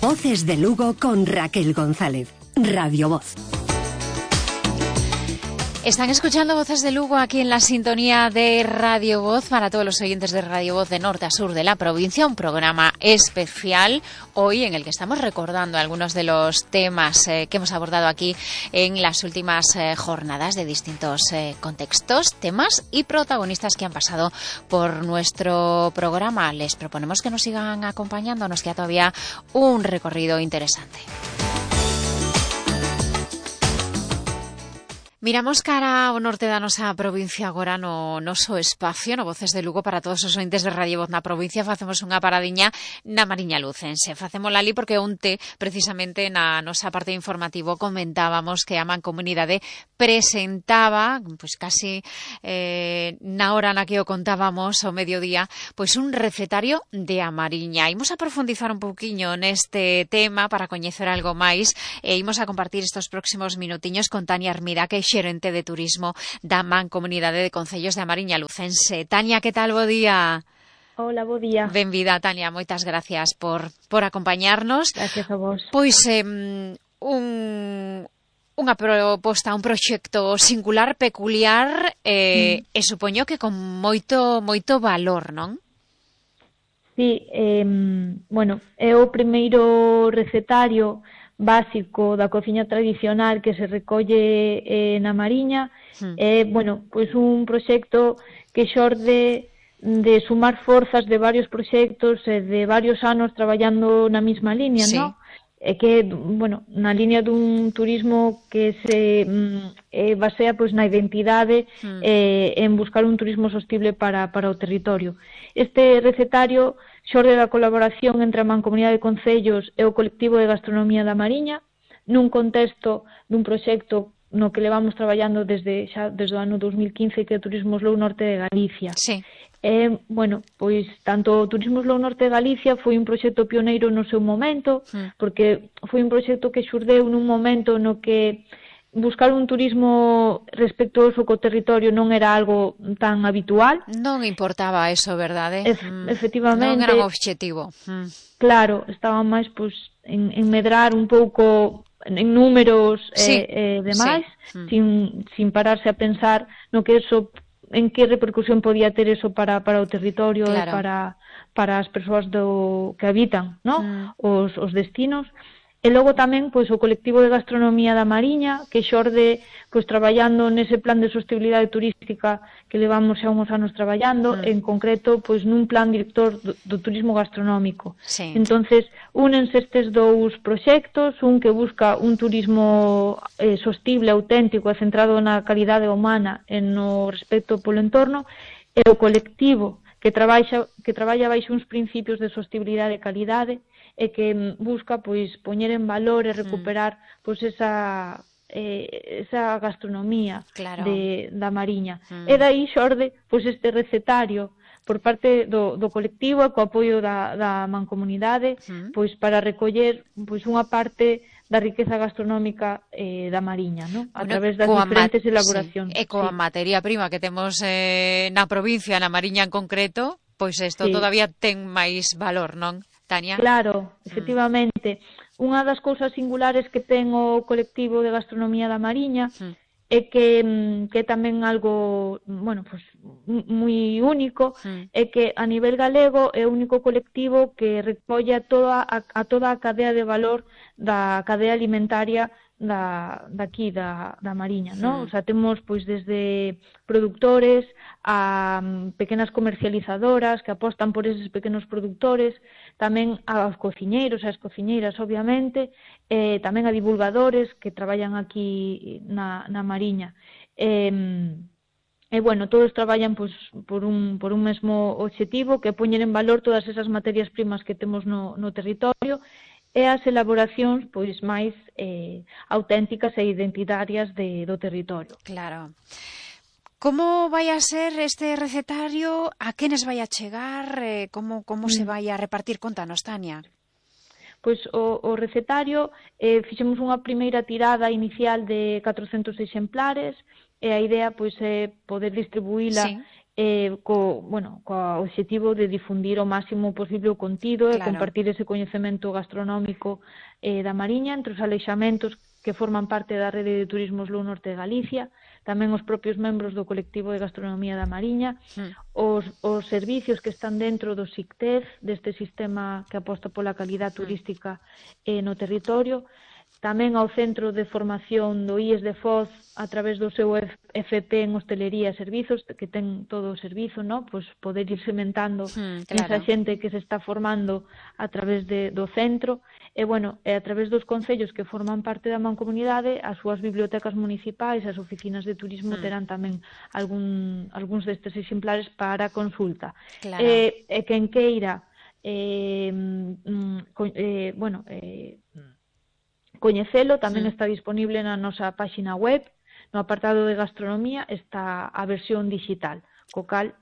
Voces de Lugo con Raquel González. Radio Voz. Están escuchando Voces de Lugo aquí en la sintonía de Radio Voz para todos los oyentes de Radio Voz de norte a sur de la provincia. Un programa especial hoy en el que estamos recordando algunos de los temas que hemos abordado aquí en las últimas jornadas de distintos contextos, temas y protagonistas que han pasado por nuestro programa. Les proponemos que nos sigan acompañando. Nos queda todavía un recorrido interesante. Miramos cara ao norte da nosa provincia agora no noso espacio, no Voces de Lugo, para todos os ointes de Radio Voz na provincia. Facemos unha paradiña na Mariña Lucense. Facémola ali porque onte, precisamente na nosa parte informativo, comentábamos que a Mancomunidade presentaba, pois casi na hora na que o contábamos ao mediodía, pois un recetario de a Mariña. Imos a profundizar un pouquiño neste tema para coñecer algo máis e imos a compartir estes próximos minutiños con Tania Armida, que é xerente de turismo da Mancomunidade de Concellos de A Mariña Lucense. Tania, que tal? Bo día. Hola, bo día. Benvida, Tania, moitas gracias por acompañarnos. Gracias a vos. Pois unha proposta, un proxecto singular, peculiar e supoño que con moito valor, non? Sí, bueno, é o primeiro recetario básico da cociña tradicional que se recolle na Mariña. Bueno, pois un proxecto que xorde de sumar forzas de varios proxectos e de varios anos traballando na mesma liña, sí. non? E que, bueno, na liña dun turismo que se basea pois na identidade en buscar un turismo sostible para o territorio. Este recetario xorde da colaboración entre a Mancomunidade de Concellos e o colectivo de gastronomía da Mariña nun contexto dun proxecto no que levamos traballando desde o ano 2015, que é o Turismo Slow Norte de Galicia. Sí. Bueno, pois tanto o Turismo Slow Norte de Galicia foi un proxecto pioneiro no seu momento, porque foi un proxecto que xurdeu nun momento no que buscar un turismo respectuoso co territorio non era algo tan habitual. Non importaba eso, verdade? Efectivamente. Non era un obxectivo. Claro, estaba máis pois en medrar un pouco en números demais, sin pararse a pensar no que eso, en que repercusión podía ter eso para o territorio, claro, e para as persoas que habitan, ¿no? Os destinos. E logo tamén pois o colectivo de gastronomía da Mariña, que xorde pois traballando nese plan de sostibilidade turística que levamos xa uns anos traballando, en concreto pois nun plan director do turismo gastronómico. Sí. Entonces, únense estes dous proxectos, un que busca un turismo sostible, auténtico e centrado na calidade humana e no respecto polo entorno, e o colectivo que traballa baixo uns principios de sostibilidade e calidade, e que busca pois poñer en valor e recuperar pois esa gastronomía, claro, da Mariña. E dai xorde pois este recetario por parte do colectivo e co apoio da Mancomunidade, pois para recoller pois unha parte da riqueza gastronómica da Mariña, ¿no? A través das diferentes elaboracións. E coa materia prima que temos na provincia, na Mariña en concreto, pois isto todavía ten máis valor, non, Tania? Claro, efectivamente. Unha das cousas singulares que ten o colectivo de gastronomía da Mariña é que tamén algo, bueno, pues moi único, é que a nivel galego é o único colectivo que recolle a toda a cadea de valor da cadea alimentaria daqui da Mariña, ¿no? O sea, temos pois desde produtores a pequenas comercializadoras que apostan por eses pequenos produtores, tamén aos cociñeiros e as cociñeiras, obviamente, tamén a divulgadores que traballan aquí na Mariña. E bueno, todos traballan pois por un mesmo obxectivo, que é poñer en valor todas esas materias primas que temos no territorio e as elaboracións pois máis auténticas e identitarias do territorio. Claro. Como vai a ser este recetario? A quenes vai a chegar? Como se vai a repartir? Contanos, Tania. Pois o recetario fixemos unha primeira tirada inicial de 400 exemplares e a idea pois é poder distribuíla co obxectivo de difundir o máximo posible o contido e Claro. compartir ese coñecemento gastronómico da Mariña entre os aleixamentos que forman parte da rede de turismo Slow Norte de Galicia, tamén os propios membros do colectivo de gastronomía da Mariña, os servicios que están dentro do SICTEF, deste sistema que aposta pola calidad turística no territorio, tamén ao Centro de Formación do IES de Foz a través do seu FP en Hostelería e Servizos, que ten todo o servizo, ¿no? Pois poder ir sementando esa xente que se está formando a través do centro, e a través dos concellos que forman parte da mancomunidade, as súas bibliotecas municipais, as oficinas de turismo terán tamén algúns destes exemplares para consulta. Claro. E quen queira coñecelo, tamén está disponible na nosa páxina web, no apartado de gastronomía está a versión digital, co cal,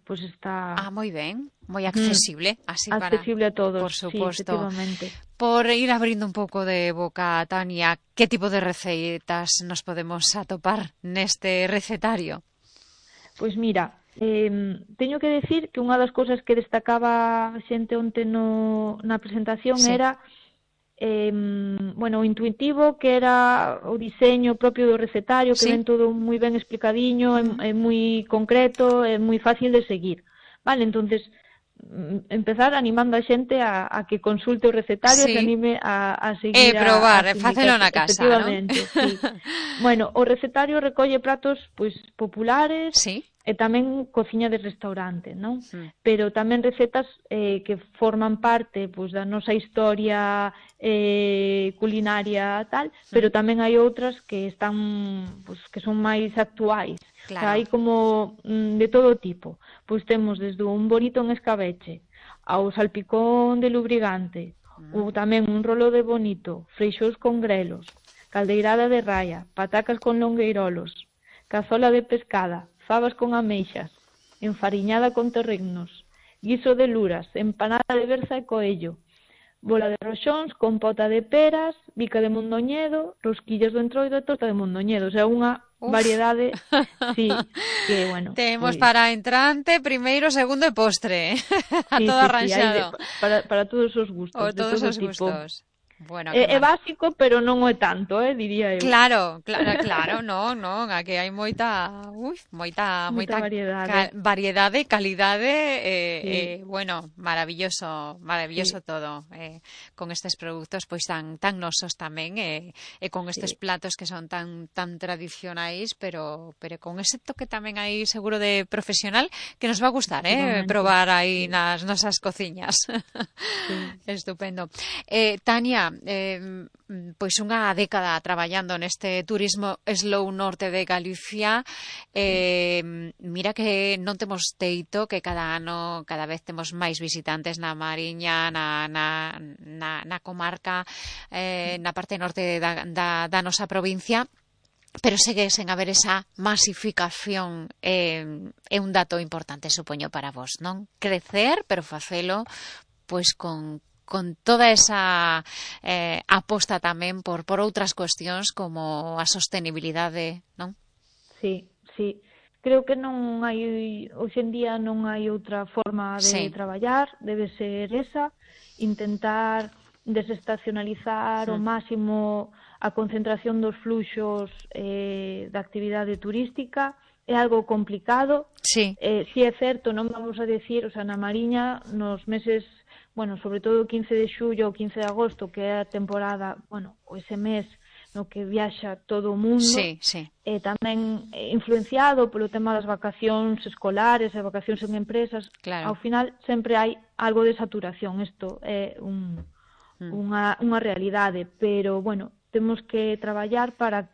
pois está... moi ben, moi accesible, así accesible a todos, por suposto. Sí, efectivamente. Por ir abrindo un pouco de boca, Tania, que tipo de receitas nos podemos atopar neste recetario? Pois mira, teño que decir que unha das cousas que destacaba xente onte na presentación era o intuitivo, que era o diseño propio do recetario, que ven todo moi ben explicadiño, é moi concreto, é moi fácil de seguir. Vale, entonces empezar animando a xente a que consulte o recetario, se anime a seguir probar, facelo na casa, efectivamente, sí. O recetario recolle pratos pois populares, e tamén cociña de restaurante, non? Pero tamén recetas que forman parte pois da nosa historia culinaria tal, pero tamén hai outras que están que son máis actuais. Claro. O sea, hai como de todo tipo. Pois temos desde un bonito en escabeche ao salpicón de lubrigante, ou tamén un rolo de bonito, freixós con grelos, caldeirada de raia, patacas con longueirolos, cazola de pescada, fabas con ameixas, enfariñada con torregnos, guiso de luras, empanada de berza e coello, bola de roxóns, compota de peras, bica de mondoñedo, rosquillas do entroido e torta de mondoñedo. O sea, unha variedade, sí, que, Temos para entrante, primeiro, segundo e postre. A todo arranxado. Para todos os gustos. O todos os gustos. É básico, pero non é tanto, diría eu. Claro, non, aquí hai moita variedade, calidade, maravilloso todo, con estes produtos pois tan nosos tamén, e con estes platos que son tan tradicionais, pero con ese toque tamén aí seguro de profesional que nos va a gustar, probar aí nas nosas cociñas. Estupendo. Tania, pois unha década traballando neste turismo Slow Norte de Galicia, mira que non temos teito, que cada vez temos máis visitantes na Mariña, na comarca, na parte norte da nosa provincia, pero segue sen haber esa masificación, é un dato importante, supoño, para vos, non? Crecer, pero facelo pois con toda esa aposta tamén por outras cuestións como a sostenibilidade, non? Sí. Creo que non hai, hoxe en día non hai outra forma de traballar, debe ser esa, intentar desestacionalizar ao máximo a concentración dos fluxos da actividade turística. É algo complicado, si é certo, non vamos a decir, na Mariña, nos meses, sobre todo o 15 de xullo ou 15 de agosto, que é a temporada, ese mes no que viaxa todo o mundo, e tamén influenciado polo tema das vacacións escolares e vacacións en empresas, ao final sempre hai algo de saturación. Isto é unha realidade, pero, temos que traballar para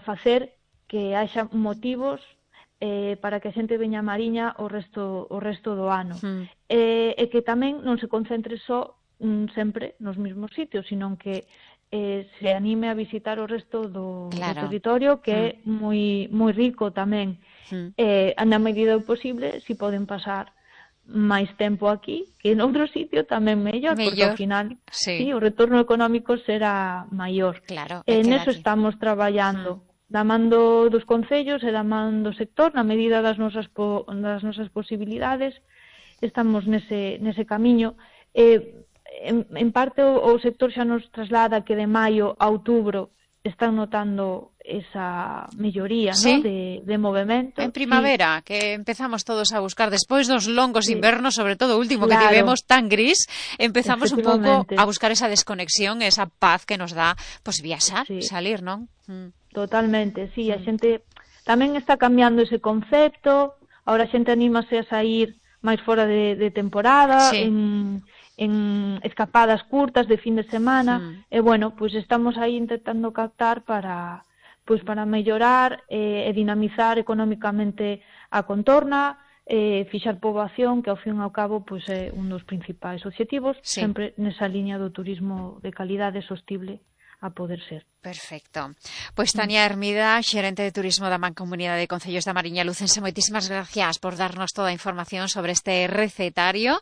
facer que haxa motivos para que a xente veña a Mariña o resto do ano. E que tamén non se concentre só sempre nos mesmos sitios, sino que se anime a visitar o resto do territorio, que é moi rico tamén. Na medida do posible, si poden pasar máis tempo aquí que en outro sitio, tamén mellor, porque ao final o retorno económico será maior. Claro, neso estamos traballando. da man dos concellos e da man do sector, na medida das nosas posibilidades, estamos nese camiño. En parte o sector xa nos traslada que de maio a outubro están notando esa melloría, ¿sí? ¿no? de movemento. En primavera, sí, que empezamos todos a buscar, despois dos longos invernos, sobre todo o último, claro, que tivemos tan gris, empezamos un pouco a buscar esa desconexión, esa paz que nos dá pues viaxar, sí, salir, non? Totalmente, sí, a xente tamén está cambiando ese concepto, ahora a xente anímase a sair máis fora de temporada, sí, en escapadas curtas de fin de semana, e bueno, pues estamos aí intentando captar para mellorar e dinamizar económicamente a contorna, fixar poboación, que ao fin e ao cabo pues, é un dos principais obxectivos, sí, sempre nesa liña do turismo de calidade sostible a poder ser. Perfecto. Pois Tania Hermida, xerente de turismo da Mancomunidade de Concellos da Mariña Lucense, moitísimas gracias por darnos toda a información sobre este recetario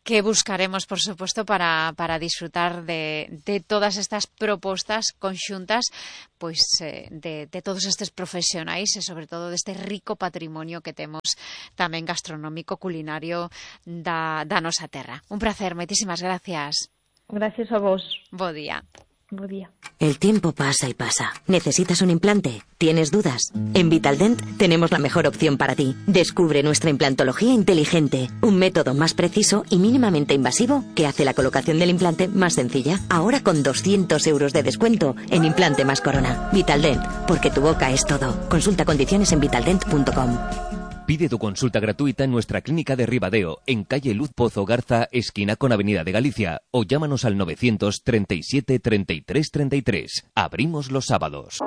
que buscaremos, por supuesto, para disfrutar de todas estas propostas conxuntas pois de todos estes profesionais e sobre todo deste rico patrimonio que temos tamén gastronómico, culinario da nosa terra. Un placer, moitísimas gracias. Gracias a vos. Bo día. Buen día. El tiempo pasa y pasa. ¿Necesitas un implante? ¿Tienes dudas? En Vitaldent tenemos la mejor opción para ti. Descubre nuestra implantología inteligente, un método más preciso y mínimamente invasivo que hace la colocación del implante más sencilla. Ahora con 200 euros de descuento en implante más corona. Vitaldent, porque tu boca es todo. Consulta condiciones en vitaldent.com. Pide tu consulta gratuita en nuestra clínica de Ribadeo, en calle Luz Pozo Garza, esquina con Avenida de Galicia, o llámanos al 937 33 33. Abrimos los sábados.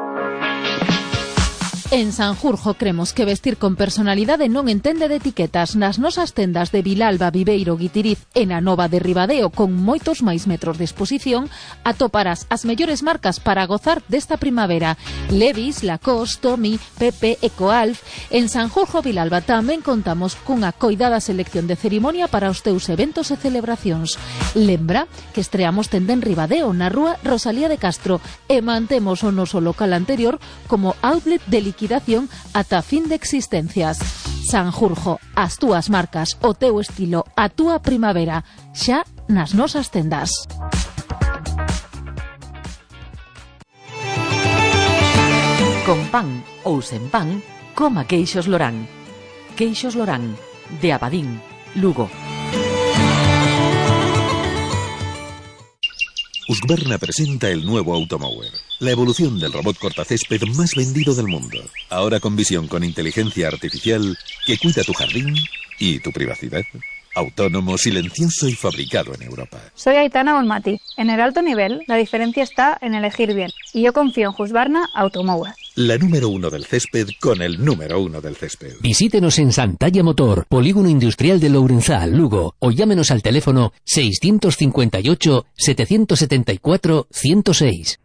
En Sanjurjo cremos que vestir con personalidade non entende de etiquetas. Nas nosas tendas de Vilalba, Viveiro, Guitiriz e na Nova de Ribadeo, con moitos máis metros de exposición, atoparás as mellores marcas para gozar desta primavera. Levi's, Lacoste, Tommy, Pepe, Ecoalf. En Sanjurjo, Vilalba, tamén contamos cunha coidada selección de cerimonia para os teus eventos e celebracións. Lembra que estreamos tenda en Ribadeo, na rúa Rosalía de Castro, e mantemos o noso local anterior como outlet de liquidación ata fin de existencias. Sanjurjo, as túas marcas, o teu estilo, a túa primavera, xa nas nosas tendas. Con pan ou sen pan, coma queixos Lorán. Queixos Lorán, de Abadín, Lugo. Husqvarna presenta el nuevo Automower, la evolución del robot cortacésped más vendido del mundo. Ahora con visión con inteligencia artificial que cuida tu jardín y tu privacidad. Autónomo, silencioso y fabricado en Europa. Soy Aitana Bonmati. En el alto nivel, la diferencia está en elegir bien. Y yo confío en Husqvarna Automower. La número 1 del césped con el número 1 del césped. Visítenos en Santalla Motor, Polígono Industrial de Lourenzá, Lugo, o llámenos al teléfono 658 774 106.